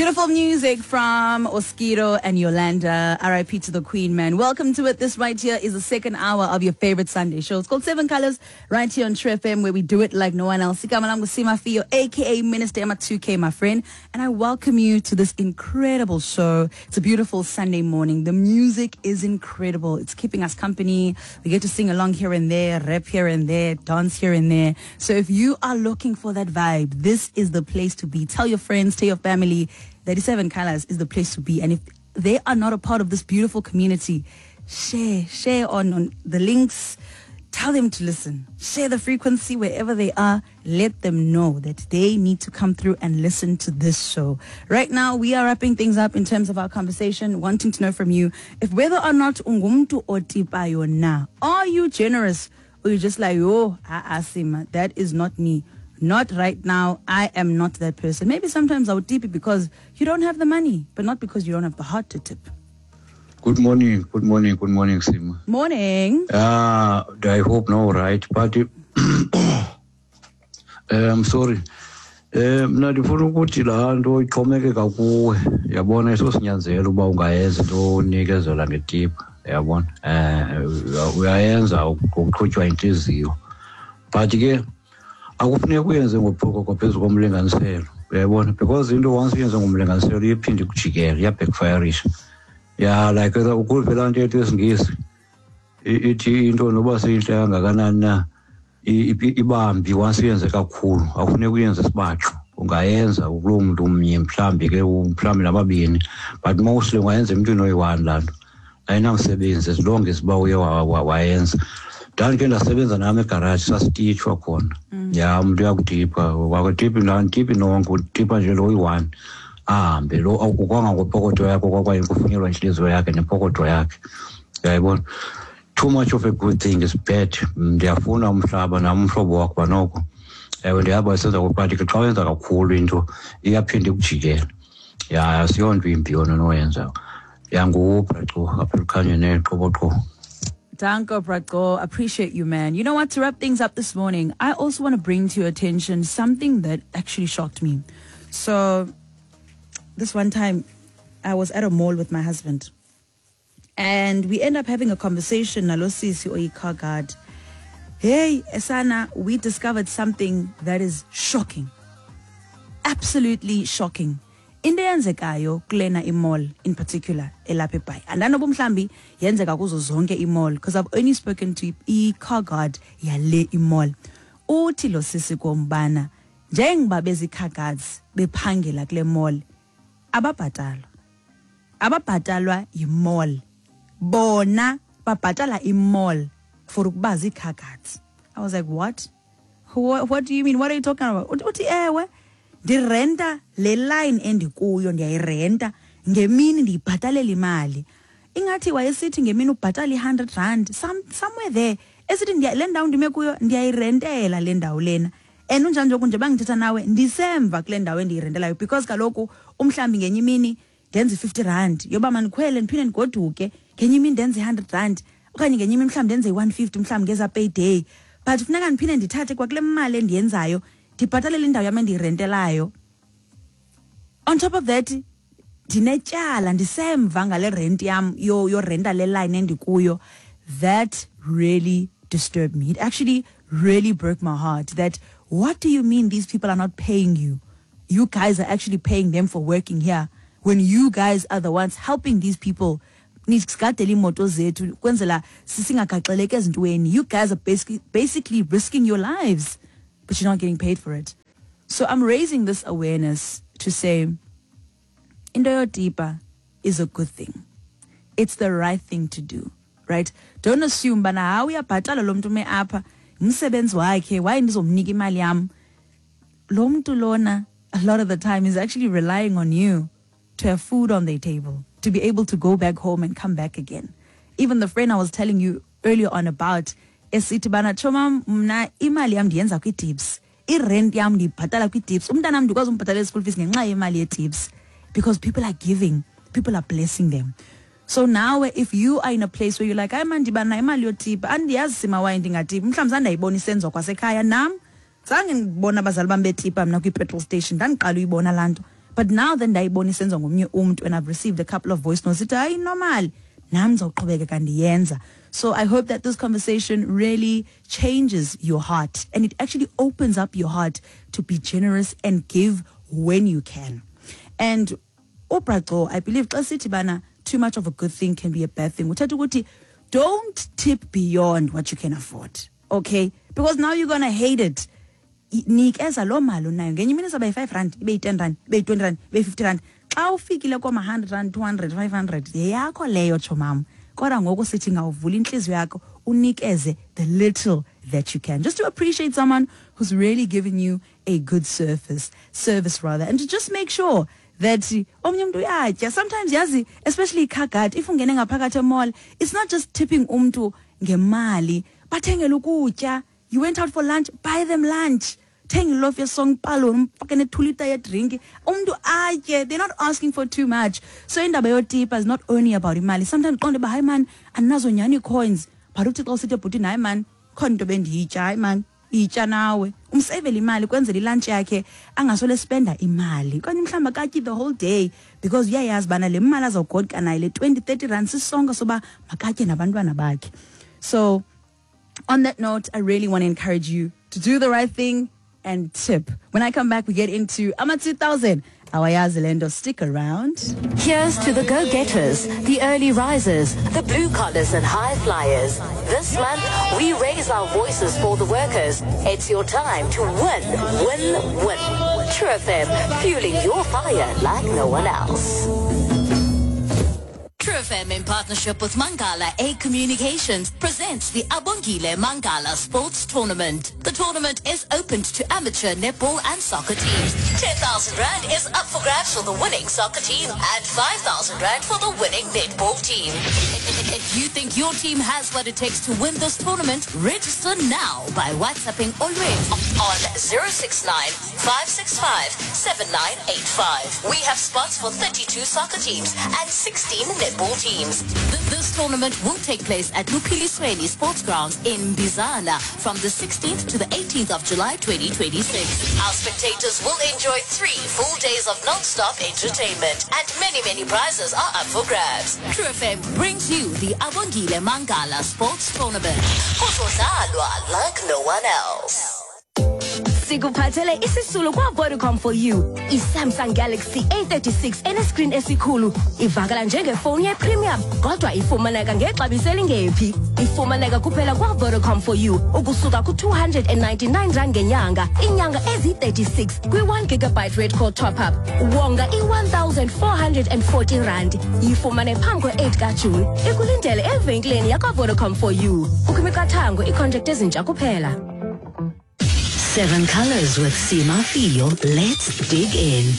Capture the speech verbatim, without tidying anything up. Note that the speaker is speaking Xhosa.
Beautiful music from Oskido and Yolanda. R I P to the Queen, man. Welcome to it. This right here is the second hour of your favorite Sunday show. It's called Seven Colors, right here on True F M, where we do it like no one else. Igama lam nguSima Fiyo, A K A Minister Emma two K, my friend. And I welcome you to this incredible show. It's a beautiful Sunday morning. The music is incredible. It's keeping us company. We get to sing along here and there, rap here and there, dance here and there. So if you are looking for that vibe, this is the place to be. Tell your friends, tell your family. thirty-seven Colors is the place to be. And if they are not a part of this beautiful community, share, share on, on the links. Tell them to listen. Share the frequency wherever they are. Let them know that they need to come through and listen to this show. Right now, we are wrapping things up in terms of our conversation, wanting to know from you if whether or not ungumntu otipayo na. Are you generous? Or you just like, oh, Asima, that is not me. Not right now. I am not that person. Maybe sometimes I would tip it because you don't have the money, but not because you don't have the heart to tip. Good morning. Good morning. Good morning, Sima. Morning. Uh, I hope no, right? But I'm sorry. Mna ndifuna ukuthi laa nto ixhomekeka kuwe, yabona, isosinyanzelo uba ungayenza into onikezela ngetipha, yabona. Eh, uyayenza ngokuqhutywa intliziyo, but ke akufuneki uyenze ngophokoko phezu komlinganiselo, uyayibona, because into once uyenze ngomlinganiselo iphinde ikujikele, iyabackfirisha. Ya, like ukuve laa nto yethu yesiNgesi ithi into noba seyintle kangakanani na ibambi once uyenze kakhulu, akufuneki uyenze sibatsho. Ungayenza kuloo mntu umnye mhlawumbi ke, mhlawumbi nababini, but mostly ungayenza emntwini oyi-one laa nto. Ayinamsebenzi as long as uba uye wayenza. Ndandike ndasebenza nam egaraji, sasititshwa khona. Ya, umntu uyakutipha, wakutiphi ndiphi nonke, utipha nje lo uyi-one ahambe lo kwangangopokotho yakho kwakwaye kufunelwa intliziyo yakhe nepokotho yakhe, uyayibona. Too much of a good thing is bad. Ndiyafuna umhlaba nam umhlobo wakho banoko. Ewe, ndiyaba isenza but ke xa wenza kakhulu into iyaphinda ikujikele. Ya, asiyonto imbi yona onoyenza. Yangubraco apha elukhanyweni neqoboqobo. Danko, Braco. Appreciate you, man. You know what? To wrap things up this morning, I also want to bring to your attention something that actually shocked me. So, this one time, I was at a mall with my husband. And we end up having a conversation. Nalo sisi oyi car guard. Hey, Esana, we discovered something that is shocking. Absolutely shocking. Into eyenzekayo kulena imall in particular elapha eBhayi, andanoba mhlambi yenzeka kuzo zonke imall, because I've only spoken to i-car guard yale imall. Uthi lo sisi kombana njengoba bezi-car guards bephangela kule mall, ababhatalwa ababhatalwa yimall, bona babhatala imall for ukuba zii-car guards. I was like, what? What, what do you mean? What are you talking about? Uthi ewe, ndirenta le line endikuyo, ndiyayirenta ngemini, ndiyibhatalela imali. Ingathi wayesithi ngemini ubhatala i-hundred rand, some, somewhere there. Esithi le ndawo ndime kuyo ndiyayirentela le ndawo lena. And unjani nje nje bangithetha nawe ndisemva kule ndawo endiyirentelayo, because kaloku umhlambi ngenye imini ndenze i-fifty rand yoba mandikhwele ndiphinde ndigoduke, ngenye imini ndenze i-hundred rand okanye ngenye imini mhlawumbi ndenze i-one fifty mhlawumbi ngeza payday, but funeka ndiphinde ndithathe kwakule mali endiyenzayo ndibhatalele indawo yam endiyirentelayo. On top of that, ndinetyala, ndisemva ngale rent yam yorenta le line endikuyo. That really disturbed me. It actually really broke my heart. That what do you mean these people are not paying you? You guys are actually paying them for working here when you guys are the ones helping these people. Nisigadele iimoto zethu kwenzela sisingagaxeleki ezintweni. You guys are basically, basically risking your lives, but you're not getting paid for it. So I'm raising this awareness to say, into yotipa is a good thing. It's the right thing to do, right? Don't assume bana hawu uyabhatala lo mntu ume apha, umsebenzi wakhe, why ndizomnika imali yam? Lo mntu lona, a lot of the time, is actually relying on you to have food on their table, to be able to go back home and come back again. Even the friend I was telling you earlier on about, esithi bana chomam mna imali yam ndiyenza kwi-tips, irent yam ndiyibhatala kwi-tips, umntanam ndikwazi umbhatalela school fees ngenxa yemali ye-tips, because people are giving, people are blessing them. So now if you are in a place where you're like, hayi man ndibana imali yotipa, andiyazi sima waye ndingatipi, mhlawumbi zandayibona isenziwa kwasekhaya nam, zange ndibona abazali bam betipa mna kwi-petrol station, ndandiqala uyibona laa nto. But now then ndayibona isenziwa ngomnye umntu and I've received a couple of voice notes ithi hayi normal nam ndizawuqhubekeka ndiyenza. So I hope that this conversation really changes your heart and it actually opens up your heart to be generous and give when you can. And uBra Gco, I believe xa sithi bana too much of a good thing can be a bad thing. Uthetha ukuthi don't tip beyond what you can afford. Okay? Because now you're going to hate it. Nikeza loo mali unayo ngenye imini izawuba yi-five rand ibe yi-ten rand ibe yi-twenty rand ibe yi-fifty rand xa ufikile kooma-hundred rand two hundred five hundred yeyakho leyo tshomam kodwa ngoku sithi ngawuvula intliziyo yakho unikeze the little that you can just to appreciate someone who's really given you a good service service rather and to just make sure that omnye umntu uyatya sometimes yazi especially car guard if ungene ngaphakathi emall it's not just tipping umntu ngemali bathengele ukutya you went out for lunch buy them lunch thenga ilofu yesonka umfake ne-two litre yedrink umntu atye they're not asking for too much so indaba yotipa is not only about imali sometimes qonde uba hayi man andinazo nyhani ii-coins but uthi xa usithi ebhutini hayi man khona into bendiyitya hayi man itya nawe umseyivele imali kwenzela ilunch yakhe angasole spenda imali okanye mhlawumbi akatyi the whole day because uyayazi bana le mali azawugoduka nayo le twenty thirty rand sisonka soba makatye nabantwana bakhe so on that note, I really want to encourage you to do the right thing and tip. When I come back, we get into AMA two thousand. Awayazi lento, stick around. Here's to the go-getters, the early risers, the blue collars and high flyers. This month, we raise our voices for the workers. It's your time to win, win, win. True F M, fueling your fire like no one else. True F M in partnership with Mangala A Communications presents the Abongile Mangala Sports Tournament. The tournament is open to amateur netball and soccer teams. ten thousand Rand is up for grabs for the winning soccer team and five thousand Rand for the winning netball team. If you think your team has what it takes to win this tournament, register now by WhatsApping Olwethu on zero six nine five six five seven nine eight five. We have spots for thirty-two soccer teams and sixteen netball teams. Th- This tournament will take place at Luphilisweni Sports Grounds in Bizana from the sixteenth to the eighteenth of July twenty twenty-six. Our spectators will enjoy three full days of non-stop entertainment and many, many prizes are up for grabs. True F M brings you the Abongile Mangala Sports Tournament. Kuzodlalwa like no one else. Sikuphathele isisulu kwa-Vodacom for you i-Samsung Galaxy A thirty-six enescreen esikhulu ivakala njengefowuni yepremium kodwa ifumaneka ngexabiso elingephi ifumaneka kuphela kwa-Vodacom for you ukusuka ku-two hundred and ninety-nine rand ngenyanga iinyanga eziyi-thirty-six kwi-one gigabyte red call top-up wonga i-one thousand four hundred and forty rand yifumane phambi kwe-eight kaJuni ikulindele evenkileni yakwa-Vodacom for you kukho imiqathango iicontract ezintsha kuphela. Seven Colors with Sima Fio. Let's dig in.